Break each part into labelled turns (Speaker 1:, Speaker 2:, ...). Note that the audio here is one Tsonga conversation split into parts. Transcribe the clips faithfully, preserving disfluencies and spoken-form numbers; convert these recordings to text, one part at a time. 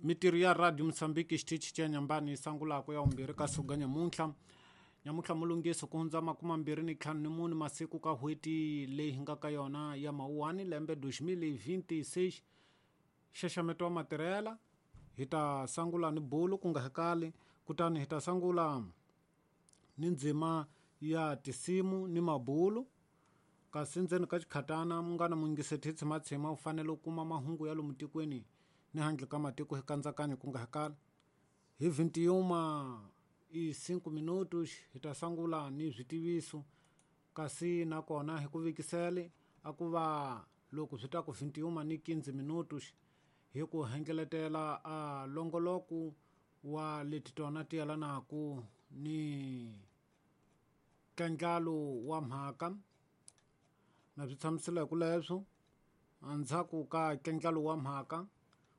Speaker 1: Mitirho ya Radio Mozambique xitichi xa Nyambani sangulako ya vumbirhi ka suga nyamuntlha nyamuntlha mulungisi ku hundza makume mambirhi ni ntlhanu ni mune masiku ka n'hweti leyi hi nga ka yona ya mawuwani lembe deux mille vingt-six xaxameto wa matirhela hi ta sangula ni bulu ku nga hekali kutani hi ta sangula ni ndzima ya tisimu ni mabulu kasi ndzeni ka xikhatana munghana muyingiseti hi tshimatshima u fanele u kuma mahungu ya lomu tikweni ni handle ka matiko hi kandzakanyo ku nga hakali hi vintiuma i cinco minutos hi ta sangula ni switiviso kasi nakona hi ku vekisele a ku va loko swi ta ku vintiuma ni quinze minutos hi ku hengeletela a longoloko wa leti tona ti yelanaku ni ntlandlalo wa mhaka na swi tshamisela hi ku leswo endzhaku ka ntlandlalo wa mhaka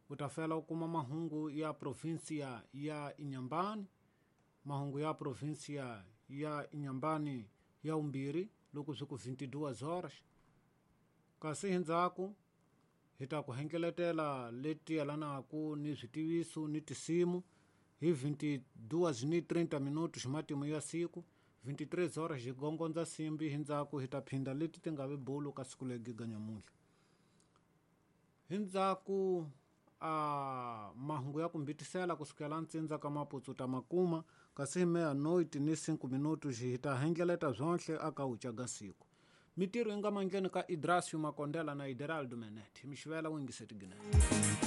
Speaker 1: u ta fela u kuma mahungu ya provinsia ya Inhambane mahungu ya provinsia ya Inhambane ya vumbirhi loko swi ku vintiduas horas kasi hi ndzhaku hi ta ku hengeletela leti yelanaku ni switiviso ni tisimu hi vintiduas ni trinta minutos matimu ya siku vintitrês horas hi gongondza simbi hi ndzhaku hi ta phinda leti ti nga vi bulu ka siku leri giga nyamuntlha hi ndzhaku a mahungu ya ku mbitisela kusukela ntsindza ka maputsu ta makuma kasi hi meia-noite ni cinco minutos hi ta hengeleta zwonhle aka wucaga siku mitirho yi nga mandleni ka Idrasio Makondela na Ideraldo Menet mixivela wingiseti ginene.